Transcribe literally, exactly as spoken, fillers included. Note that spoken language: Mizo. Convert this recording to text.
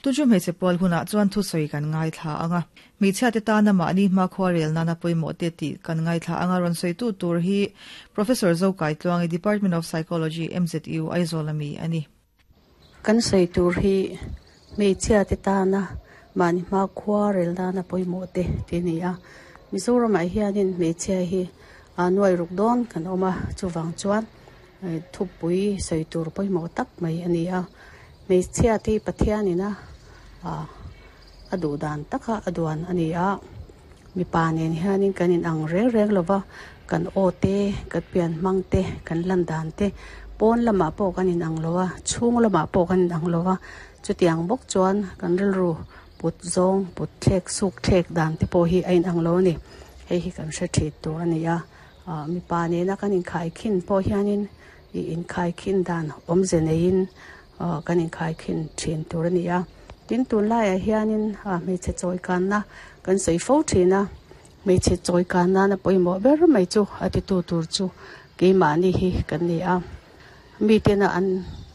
Tu chu hmeichhe pual hunah chuan thusawi kan ngaithla anga hmeichhia te tana mahni hmakhua rel nana pawimawh te tih kan ngaithla anga rawn sawitu tur hi Professor Zokaitluangi Department of Psychology M Z U Aizawl ami ani. Kan sawi tur hi hmeichhia te tana mahni hmakhua rel nana pawimawh te ti ni a. Mizoramah hianin hmeichhia hi a nuai ruk dawn kan awm a, chuwang chuan thupui sawi tur pawimawh tak mai ani a. Hmeichhia te Pathianina a a duh dan taka a duan ani a. Mipa nen hianin kan in ang reng reng lova, kan aw te, kan pian hmang te, kan lan dan te, pawn lamah pawh kan in ang lo a, chhung lamah pawh kan in ang lo a. Chutiang bawk chuan kan rilru put zawng, put thlek, suk thlek dan te pawh hi a in ang lo ani. Hei hi kan hre thit tur ani a. Mipa nena kan inkhai khin pawh hianin i inkhai khin dan awmze neiin kan inkhai khin thin tur ani a. Tin, tun laiah hianin hmeichhe chawi kanna kan sawi fo thin a. Hmeichhe chawi kanna na pawimawh ber mai chu a titu tur chu keimahni hi kan ni a. Mi tena an